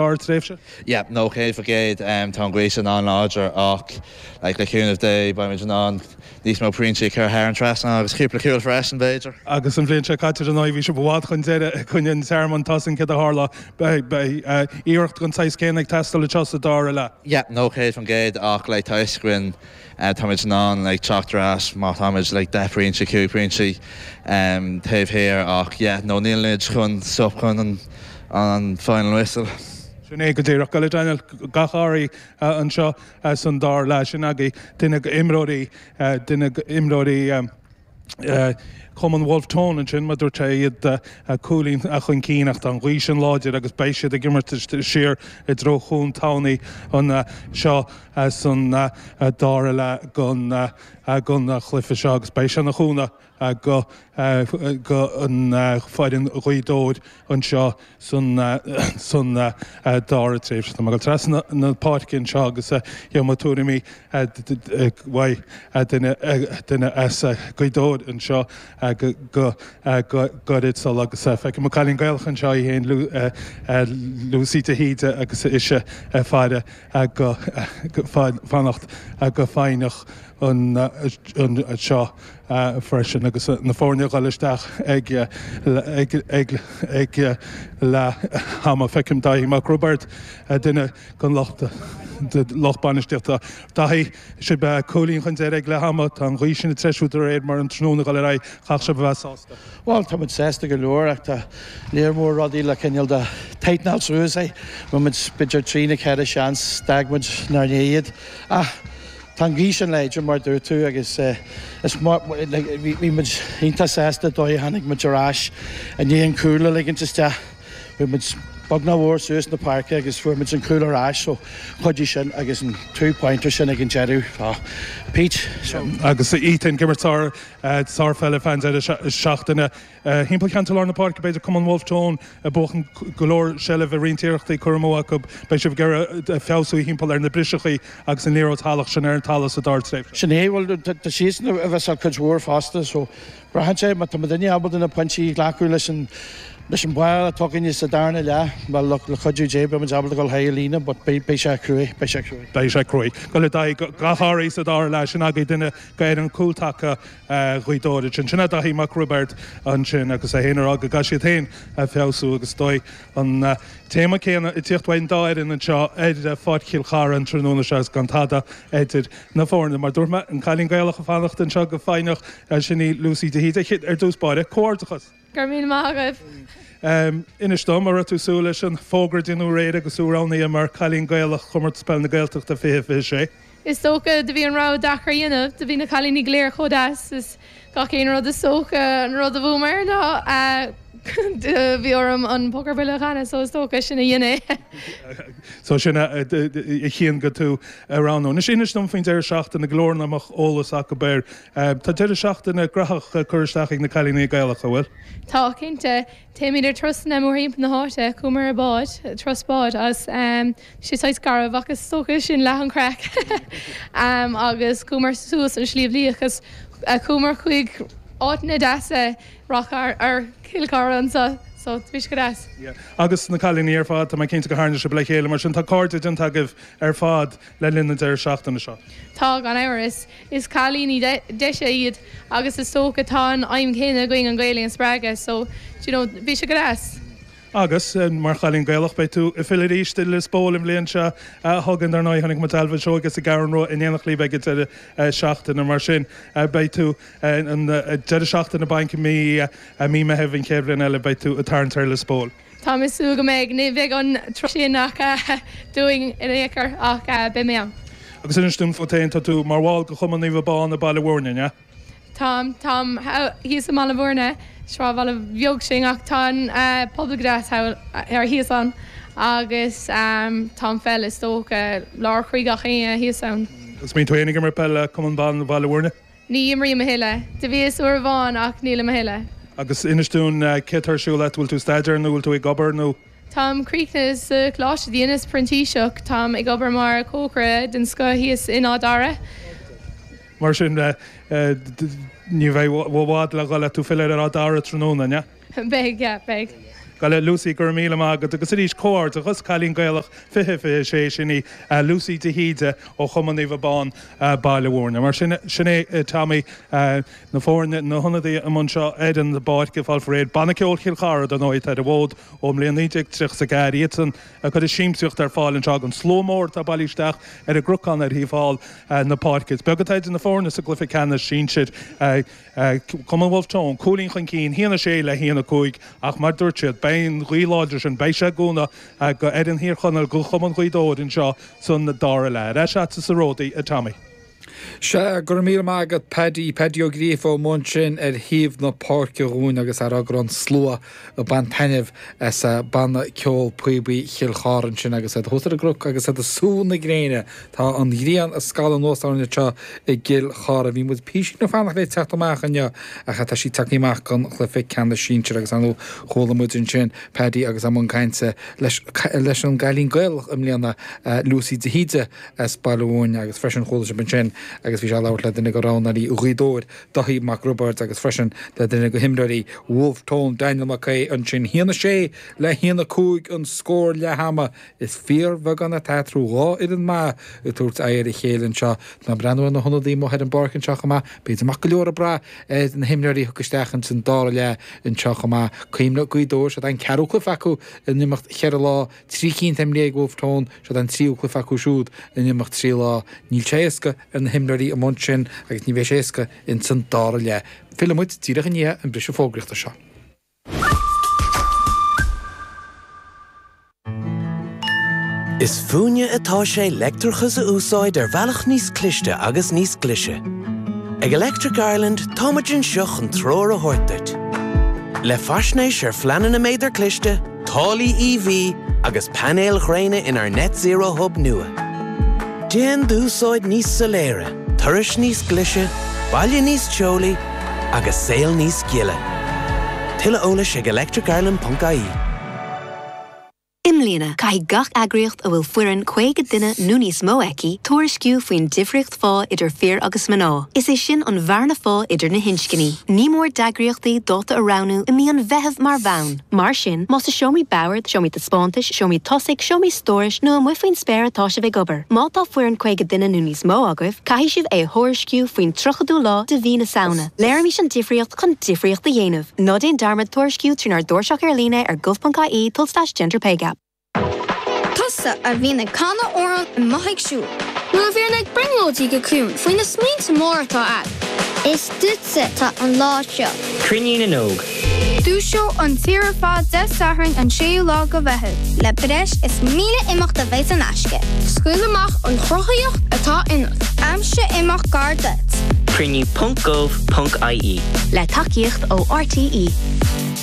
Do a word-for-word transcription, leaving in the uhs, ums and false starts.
dara tréimhse? Yeah, no céad faoin gcéad um, tá an ghaoth sin an-láidir ach like, le cúnamh Dé beimid in ann níos mó pointí a chur thar an trasnán agus cúpla cúl freisin b'fhéidir. Agus an bhliain seo caite an bhí sibh i bhfad chun deireadh chun an Tearmann tosan céard a tharla iarracht den saghas céanna ag teastáil anseo sa dara leath. Yeah, no céad faoin gcéad ach like, tá fhios againn uh, táimid in ann like, teacht ar ais má táimid like, deich bpointe cúig pointí um, taobh thiar ach yeah, no nílimid chun stop chun an, an final whistle. Sin é go díreach go Daniel gach ádh anseo san dara leath sin agaibh duine imreoirí duine imreoirí Cumann Wolfe Tone ansin mar dúirt sé iad cúilín chun cinn ach tá an ghaoth sin láidir agus beidh siad ag imirt siar i dtreo Chuan Tamhnaí anseo san dara leath den den chluiche seo agus beidh sé ina chúnamh go go an foireann Ghaoth Dobhair anseo san san dara tréimhse. Tá go trasna na páirce anseo agus gheobhaidh mé tuairimí uaidh duine duine as Gaoth Dobhair anseo go go go gairid sul agus feicim an cailín Gaelach anseo í féin Lucy de hÍde agus ise faire go fanacht go foighneach anseo freisin agus na foirne ag dul isteach ag ag ag ag leath ama feicim Daithí Mac Roibeaird duine den lucht lucht bainistíochta. Daithí sibh cúilín chun deiridh ag leath ama tá an ghaoth sin ag treisiú de réir mar an tráthnóna ag dul ar aghaidh chaithfeadh sibh a bheith sásta. Well tá muid sásta go leor ach tá léir mór rudaí le cineál de tightenáil suas é muid b'fhéidir trí nó ceithre seans d'fhág muid nár iad ach Tá an ghaoth sin láidir mar dúirt tú agus is bhí muid iontach sásta dóigh tháinig muid ar ais i ndiaidh an cúl a ligint isteach. Bhí muid beagnach mhór suas na páirce agus fuair muid an cúl ar ais so chuidigh sin agus an two pointer sin ag an deireadh Pete. So. Agus Ethan ag imirt sár sárpheile fan deireadh seachtaine. Thimpeall cheantar lár na páirce b'fhéidir Cumann Wolfe Tone ag buachan go leor seilbh i roinnt iarrachtaí cur amú acu beidh sibh ag iarraidh feabhsú thimpeall ar na briseachaí agus an liathróid shalach sin ar an talamh sa dara tréimhse. Sin é bhuel tá siadsan a bheith ar cuid mhór fosta so braitheann sé má tá duine ábalta na pointí a ghlacadh leis an leis an bhfáil atá againne sa darna leath well le cuidiú Dé beimid ábalta dul thar an líne but beidh sé cruaidh beidh sé cruaidh. Beidh sé cruaidh. Go le gach ádh sa dara leath sin agaibh duine d'fhoireann cúltaca Ghaoth Dobhair sin sin é Daithí Mac Roibeaird ansin agus é féin ag rá go gcaithfidh siad féin feabhsú agus dóigh an téama céanna ag tíocht uaidh an dá fhoireann anseo ar Pháirc Chill Chartha an tráthnóna seo agus gan tada idir na foirne. Mar dúirt mé an cailín Gaelach ag fanacht anseo go foighneach sin í Lucy de hÍde ar dtús báire comhghairdeachas. Gur míle maith agaibh. Um, Inis dom an raibh tú ag súil leis an fógra inniu aréir agus tú roghnaithe mar cailín Gaelach Chomórtas Peile na Gaeltachta fiche fiche sé. Is dócha do bhí an rogha deacair a dhéanamh, do bhí na cailíní go léir chomh deas is gach aon rud is dócha an rud a bhuamar ná do bhí orm an Póca ar Buile a chanadh so is dócha sin a dhein é. So sin a chinn go tú a roghnú. Anois inis dom faoin deireadh seachtaine go leor nach mbeadh eolas acu air. Tá deireadh seachtaine graitheach curtha isteach ag na cailíní Gaelacha, bhfuil? Tá, cinnte. Téimid ar turasanna mórthimpeall na háite, chuamar ar bád, turas báid agus tá sé saghas garbh ach is dócha sin leath an chraic agus chuamar suas an Sliabh Liach agus chuamar chuig áiteanna deasa Ráth ar Chill Chartha anseo so bhí sé go deas. Yeah. Agus na cailíní ar fad, tá mé cinnte go tharna sibh le chéile mar sin tá cairde déanta agaibh ar fad le linn na deireadh seachtaine seo. Tá gan amhras. Is cailíní deise iad agus is dócha tá an aidhm chéanna againn an Ghaeilge a spreagadh so do you know bhí sé go deas. Agus mar chailín Gaelach beidh tú ag filleadh arís i Lios Póil an bhliain seo chugainn dar ndóigh chonaic muid Ailbhe Seoige sa gCeathrú Rua in éineacht libh ag an deireadh seachtaine mar sin beidh tú an deireadh seachtaine bainc mí mí Meitheamh an chéad bhliain eile beidh tú ag tarraingt ar Lios Póil. Tá mé ag súil go mbeidh, ní bheidh an turas sin ach dúinn in aon chor ach beidh mé ann. Agus inis dúinn fút féin, tá tú mar bhall de Chumann Naomh Abán i Baile Bhúirne, an ea? Táim, táim thíos i mBaile Bhúirne, sráidbhaile bheag sin ach tá an pobal go deas thall ar thíos ann agus tá an pheil is dócha lár chroí gach éinne thíos ann. Agus mbíonn tú féin ag imirt peile le Cumann Ban Bhaile Bhúirne? Ní imrím a thuilleadh. Do bhíos uair amháin ach nílim a thuilleadh. Agus inis dúinn céard atá ar siúl agat, bhfuil tú ag staidéar nó bhfuil tú ag obair nó? Táim críochnaithe sa choláiste, dheineas printíseach, táim ag obair mar chócaire den scoth thíos in Áth Dara. Mar sin, ní bheidh i bhfad le dhul le tú filleadh ar Áth Dara tráthnóna, an ea? Beidh, yeah, beidh. Gabh Lucy go raibh míle maith agat agus arís comhghairdeas cailín Gaelach fiche fiche sé sin í Lucy de hÍde ó Chumann Naomh Abán Baile Mhúirne. Mar sin sin é Tommy na foirne na hionadaithe anseo ar an bpáirc ag fáil réidh Banna Ceoil Chill Chartha don óid ar an bhfód ón mbliain naoi déag tríocha a ceathair iadsan a chuir siamsaíocht ar fáil anseo an slua mór atá bailithe isteach ar an gcnocán ar thaobh thall na páirce. Is beag atá idir na foirne sa gcluiche ceannais sinsir Cumann Wolfe Tone, cúilín chun cinn, haon a sé le haon a cúig ach mar dúirt siad beidh an ghaoth láidir sin beidh sé ag cúnamh go ar an Thír Chonaill go Chumann Ghaoth Dobhair anseo san dara leath. Ar ais agatsa a Ródaí a Tommy. Sea go raibh míle maith agat Paddy Paddy Ó Gríofa amuigh ansin ar thaobh na páirce dhúinn agus ar an slua ag baint taitneamh as banna ceol píobaí Chill Chartha ansin agus iad thuas ar an gcnoc agus iad ag sú na gréine. Tá an ghrian ag scalladh anuas orainn anseo i gCill Chartha. Bhí muid píosa ag fanacht le teacht amach inniu ach tá sí tagtha amach don chluiche ceannais sinsir agus an chuala muid ansin Paddy agus i mbun cainte leis leis an gcailín Gaelach i mbliana Lucy de hÍde as Baile Mhúirne agus freisin chuala sibh ansin agus bhí sé labhairt le duine de roghnóirí Ghaoth Dobhair Daithí Mac Roibeaird agus freisin le duine de himreoirí Wolfe Tone Daniel McCay ansin haon a sé le haon a cúig an scór leath-ama is fíorbheagán atá eatarthu dhá fhoireann maith ag tabhairt aghaidh ar a chéile anseo ná breathnú na hionadaithe amuigh ar an bpáirc anseo chomh maith b'fhéidir maith go leor ag brath ar na himreoirí thug isteach an dara leath anseo chomh maith Cuimhnigh Gaoth Dobhair siod an ceathrú cluiche acu in imeacht cheithre lá trí cinn imrithe ag Wolfe Tone siod an tríú cluiche acu siúd in imeacht trí lá níl sé éasca ar na himreoirí amuigh ansin agus ní bheidh sé éasca in san dara leath. Fillfidh muid díreach i ndiaidh an briseadh fógraíochta seo. Is fúinne atá sé leictreachas a úsáid ar bhealach níos cliste agus níos glaise. Ag Electric Ireland táimid anseo chun treoir a thabhairt duit. Le faisnéis ar phleananna méadar cliste, táillí EV agus painéil ghréine inár Net Zero Hub nua. Déan d'úsáid níos soiléire, turais níos glaise, baile níos teolaí agus saol níos gile. Tuilleadh eolais ag electricireland.ie. I mbliana caithfidh gach eagraíocht a bhfuil foireann caoga duine nó níos mó aici tuairisciú faoin difríocht phá idir fir agus mná. Is é sin an bhearna phá idir na hinscní. Ní mór d'eagraíochtaí dáta a roghnú i mí an Mheithimh mar bhonn. Mar sin, más i seomraí boird, seomraí taispeántais, seomraí tosaigh, seomraí stórais nó amuigh faoin spéir atá sibh ag obair. Má tá foireann caoga duine nó níos mó agaibh, caithfidh sibh é a thuairisciú faoin tríochadú lá de mhí na Samhna. Léirímis an difríocht chun difríocht a dhéanamh. Ná déan dearmad tuairisciú trínár dtairseach ar líne ar gov.ie tulslais gender pay gap. Tusa a bhíonn ag canadh amhrán amuigh ag siúl. Nó a bhíonn ag brionglóidí go ciúin faoi na smaointe móra atá agat. Is duitse atá an lá seo. Cruinniú na nÓg. Dúiseoidh an tír ar fad Dé Sathairn an séú lá de Mheitheamh. Le breis is míle imeacht a bheidh in aisce. Scaoil amach an chruthaíocht atá ionat. Aimsigh imeacht gar duit. Cruinniú.gov.ie Le tacaíocht ó RTE.